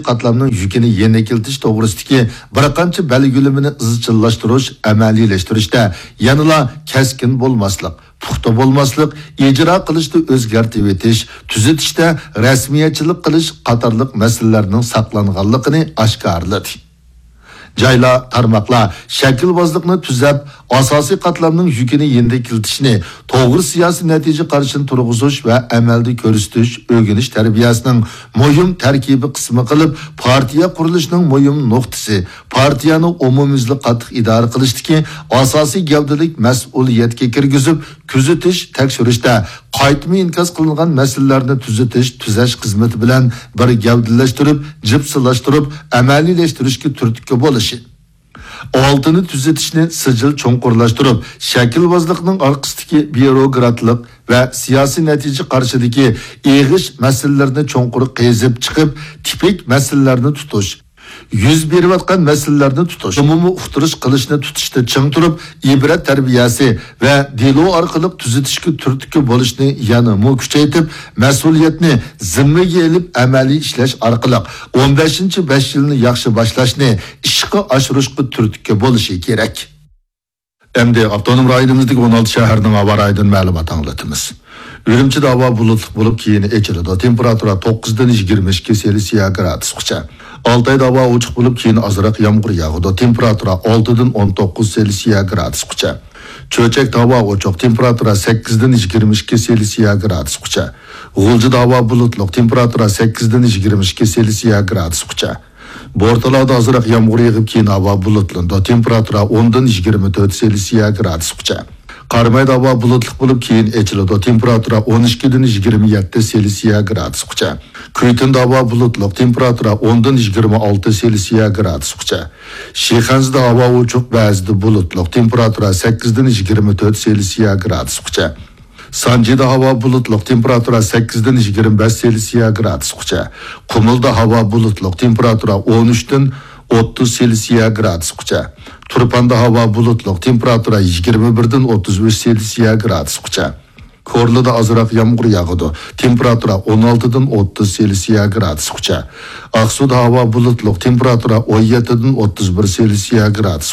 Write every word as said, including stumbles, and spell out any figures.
قاتلامنىڭ يۈكىنى يېنىكلىتىش توغرىسىدىكى بىر قانچە بەلگىلىمىنى ئىزچىللاشتۇرۇش، ئەمەلىيلەشتۈرۈشتە يەنىلا كەسكىن بولماسلىق، پۇختا بولماسلىق، ئىجرا قىلىشتا ئۆزگەرتىۋېتىش، تۈزىتىشتە رەسمىيەتچىلىك قىلىش قاتارلىق مەسىلىلەرنىڭ ساقلانغانلىقىنى ئاشكارىلىدى. جايلار، تارماقلار شەكىلۋازلىقنى تۈزەپ، ئاساسىي قاتلامنىڭ يۈكىنى يېنىكلىتىشنى، توغرا سىياسىي نەتىجە قارىشىنى تۇرغۇزۇش ۋە ئەمەلدە كۆرسىتىش، ئۆگىنىش تەربىيەسىنىڭ مۇھىم تەركىبىي قىسمى قىلىپ، پارتىيە قۇرۇلۇشىنىڭ مۇھىم نۇقتىسى، پارتىيەنى ئومۇميۈزلۈك قاتتىق ئىدارە قىلىشتىكى ئاساسىي گەۋدىلىك مەسئۇلىيەتكە كىرگۈزۈپ، كۆزىتىش، تەكشۈرۈشتە قايتما ئىنكاس قىلىنغان مەسىلىلەرنى تۈزىتىش، تۈزەش خىزمىتى بىلەن بىر گەۋدىلەشتۈرۈپ، جىپسىلاشتۇرۇپ، ئەمەلىيلەشتۈرۈشكە تۈرتكە بولۇشى. ئالتىنى تۈزىتىشنى سىجىل چوڭقۇرلاشتۇرۇپ، شەكىلۋازلىقنىڭ ئارقىسىدىكى بيۇروكراتلىق ۋە سىياسىي نەتىجە قارىشىدىكى ئېغىش مەسىلىلەرنى چوڭقۇر قېزىپ چىقىپ، تىپىك مەسىلىلەرنى تۇتۇش، يۈز بېرىۋاتقان مەسىلىلەرنى تۇتۇش، ئومۇمىي ئۇقتۇرۇش قىلىشنى تۇتۇشتا چىڭ تۇرۇپ، ئىبرەت تەربىيەسى ۋە دېلو ئارقىلىق تۈزىتىشكە تۈرتكە بولۇشنى يەنىمۇ كۈچەيتىپ، مەسئۇلىيەتنى زىممىگە ئېلىپ ئەمەلىي ئىشلەش ئارقىلىق ئون بەشىنچى بەش يىلنى ياخشى باشلاشنى ئىشقا ئاشۇرۇشقا تۈرتكە بولۇشى كېرەك. ئەمدى ئاپتونوم رايونىمىزدىكى ئون ئالتە شەھەرنىڭ ھاۋا رايىدىن مەلۇمات ئاڭلىتىمىز. ئۈرۈمچىدە ھاۋا بۇلۇتلۇق بولۇپ، كېيىن ئېچىلىدۇ. تېمپېراتۇرا توققۇزدىن يىگىرمە ئىككى سېلسىيە گرادۇسقىچە. ئالتايدا ھاۋا ئوچۇق بولۇپ، كېيىن ئازراق يامغۇر ياغىدۇ. تېمپېراتۇرا ئالتىدىن ئون توققۇز سېلسىيە گرادۇسقىچە. چۆچەكتە ھاۋا ئوچۇق. تېمپېراتۇرا سەككىزدىن يىگىرمە ئىككى سېلسىيە گرادۇسقىچە. غۇلجىدا ھاۋا بۇلۇتلۇق. تېمپېراتۇرا سەككىزدىن يىگىرمە ئىككى سېلسىيە گرادۇسقىچە. بورتالادا ئازراق يامغۇر يېغىپ، كېيىن ھاۋا بۇلۇتلىنىدۇ. تېمپېراتۇرا ئوندىن يىگىرمە تۆت سېلسىيە گرادۇسقىچە. قارامايدا ھاۋا بۇلۇتلۇق بولۇپ، كېيىن ئېچىلىدۇ. تېمپېراتۇرا ئون ئىككىدىن يىگىرمە يەتتە سېلسىيە گرادۇسقىچە. كۈيتۈندە ھاۋا بۇلۇتلۇق. تېمپېراتۇرا ئوندىن يىگىرمە ئالتە سېلسىيە گرادۇسقىچە. شىخەنزىدە ھاۋا ئوچۇق، بەزىدە بۇلۇتلۇق. تېمپېراتۇرا سەككىزدىن يىگىرمە تۆت سېلسىيە گرادۇسقىچە. سانجىدا ھاۋا بۇلۇتلۇق، تېمپېراتۇرا سەككىزدىن يىگىرمە بەش سېلسىيە گرادۇسقىچە. قۇمۇلدا ھاۋا بۇلۇتلۇق، تېمپېراتۇرا ئون ئۈچتىن ئوتتۇز سېلسىيە گرادۇسقىچە. تۇرپاندا ھاۋا بۇلۇتلۇق، تېمپېراتۇرا يىگىرمە بىردىن ئوتتۇز ئۈچ سېلسىيە گرادۇسقىچە. كورلىدا ئازراق يامغۇر ياغىدۇ، تېمپېراتۇرا ئون ئالتىدىن ئوتتۇز سېلسىيە گرادۇسقىچە. ئاقسۇدا ھاۋا بۇلۇتلۇق، تېمپېراتۇرا ئون يەتتىدىن ئوتتۇز بىر سېلسىيە گرادۇس.